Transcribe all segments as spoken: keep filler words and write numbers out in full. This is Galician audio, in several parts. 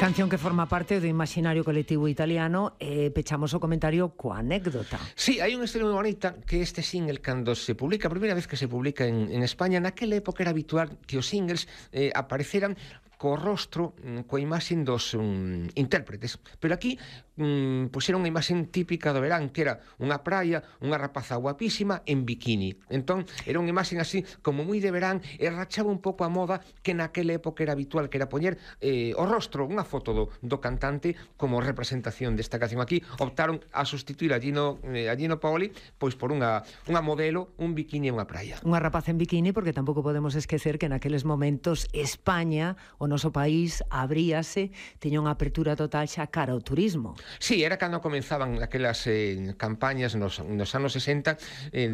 Canción que forma parte do imaxinario colectivo italiano e pechamos o comentario coa anécdota. Sí, hai unha historia moi bonita que este single, cando se publica, a primeira vez que se publica en, en España, naquela época era habitual que os singles eh, apareceran co rostro, coa imaxen dos um, intérpretes. Pero aquí, um, pois era unha imaxen típica do verán, que era unha praia, unha rapaza guapísima en bikini. Entón, era unha imaxen así, como moi de verán, e rachaba un pouco a moda que naquela época era habitual, que era poñer eh, o rostro, unha foto do, do cantante como representación desta canción. Aquí optaron a sustituir a Gino, eh, a Gino Paoli pois por unha, unha modelo, un bikini e unha praia. Unha rapaza en bikini, porque tampouco podemos esquecer que naqueles momentos España, o noso país, abríase, tiña unha apertura total xa cara ao turismo. Sí, era cando comenzaban aquelas eh, campañas nos, nos anos sesenta eh,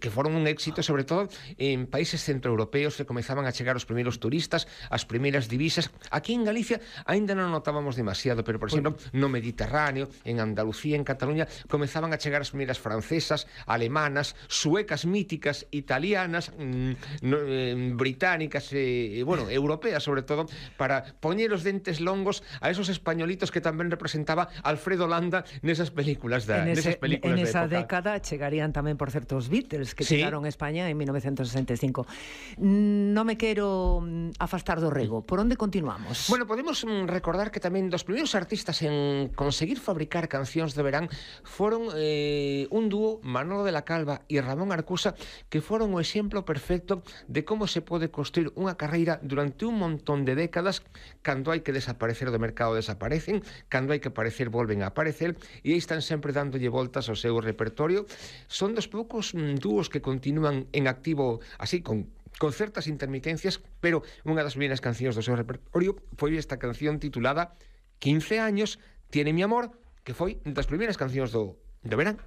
que foron un éxito, sobre todo en países centroeuropeos, que comezaban a chegar os primeiros turistas, as primeiras divisas. Aquí en Galicia aínda non notábamos demasiado, pero, por exemplo, no Mediterráneo, en Andalucía, en Cataluña, comezaban a chegar as primeiras francesas, alemanas, suecas míticas, italianas, mmm, no, eh, británicas, eh, bueno, europeas, sobre todo, para poñer os dentes longos a esos españolitos que tamén representaba Alfredo Landa nesas películas da, en ese, nesas películas en esa de década chegarían tamén, por certo, os Beatles, que sí. chegaron a España en mil novecientos sesenta e cinco. Non me quero afastar do rego. Por onde continuamos? Bueno, podemos recordar que tamén dos primeiros artistas en conseguir fabricar cancións de verán foron eh, un dúo, Manolo de la Calva e Ramón Arcusa, que foron o exemplo perfecto de como se pode construir unha carreira durante un montón de décadas. Cando hai que desaparecer do mercado desaparecen, cando hai que aparecer volven a aparecer, e aí están sempre dándolle voltas ao seu repertorio. Son dos poucos mm, dúos que continúan en activo así, con con certas intermitencias, pero unha das primeiras cancións do seu repertorio foi esta canción titulada quince años, tiene mi amor, que foi das primeiras cancións do, do verán.